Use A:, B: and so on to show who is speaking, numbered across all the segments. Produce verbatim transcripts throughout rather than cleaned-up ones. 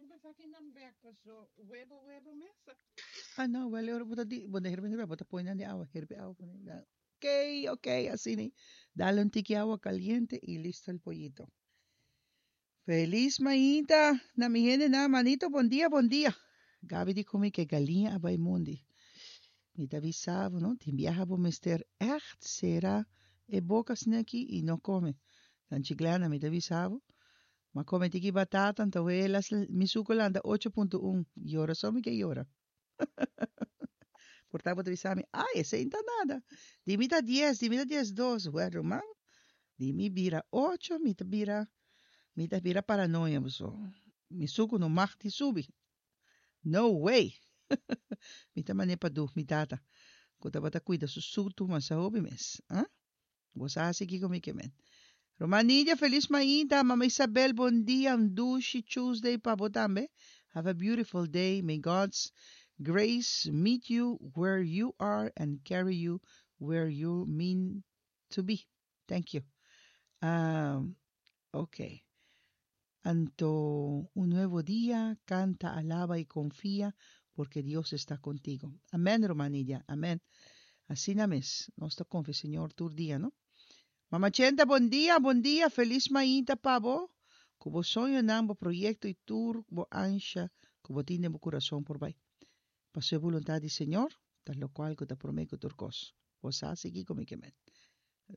A: Herbe sakinan bek, so webo webo mes.
B: Ah, no, wel, ora bo ta di, bo ta herbe herbe, bo ta pone nan den awa, herbe awa pone nan. Ok, ok, asina. Dale un tiki awa caliente y listo el pollito. Feliz mainta na mi hendenan, manito, bon dia, bon dia. Gabi di cu mi cu galiña a bay mondi. Mi ta bisa bo, no? Tin biaha bo mester echt cera e boca asina aki y no come. Tanchi Glenda, mi ta bisa bo. M'a come tiki batata, anto las mi suco lanta ocho punto un. Yora so mi ke yora. Por ta bo ta bisa mi, ay, esey no ta nada. Di mi ta dies, di mi ta dies dos. Well, ruman, di mi bira ocho, mi ta bira, mi ta bira paranoia so. Mi suco no mag di subi. No way. Mi ta mane pa du, mi tata. Ku tabata cuida su sutu mas hopi mes. Ah? Bo sa hasi kiko mi ke men. Ruman Nidia, feliz mainta. Mama Isabel, bon dia. Un dushi Tuesday pa bo tambe. Have a beautiful day. May God's grace meet you where you are and carry you where you mean to be. Thank you. Um, okay. Anto, un nuevo día, canta, alaba y confía, porque Dios está contigo. Amén, ruman Nidia. Amén. Asina mes. Nos ta confia Señor tur dia, no? Mama Chenta, bon dia, bon dia. Feliz mainta pa bo. Cu bo soñonan, bo proyecto y tur bo ansha, cu bo tin den bo curason por bay. Paso e voluntad di Señor, ta locual cu ta prome cu tur cos. Bo sa sigui cu mi ke men.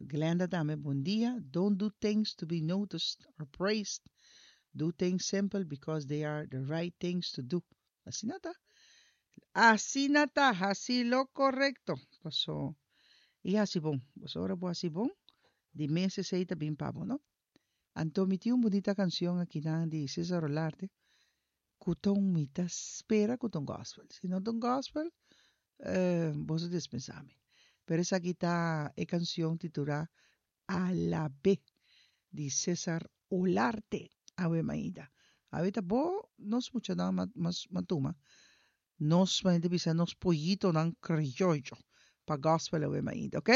B: Glenda tambe, bon dia. Don't do things to be noticed or praised. Do things simple because they are the right things to do. Asina ta. Asina ta, haci lo corecto. Paso, y haci bon. Paso ora bo haci bon, di mes esey ta bin pa bo, no? Anto mi tin un bunita cancion aki nan di Cesar Olarte, cu ta un mi ta spera cu ta un gospel. Si no ta un gospel, eh, boso dispensa mi. Pero esaki ta e cancion titula Alabe di Cesar Olarte. Awe mainta. Awe ta bo nos muchanan ma, mas matuma. Nos ma bisa nos pollitonan criollo pa gospel awe mainta, ok?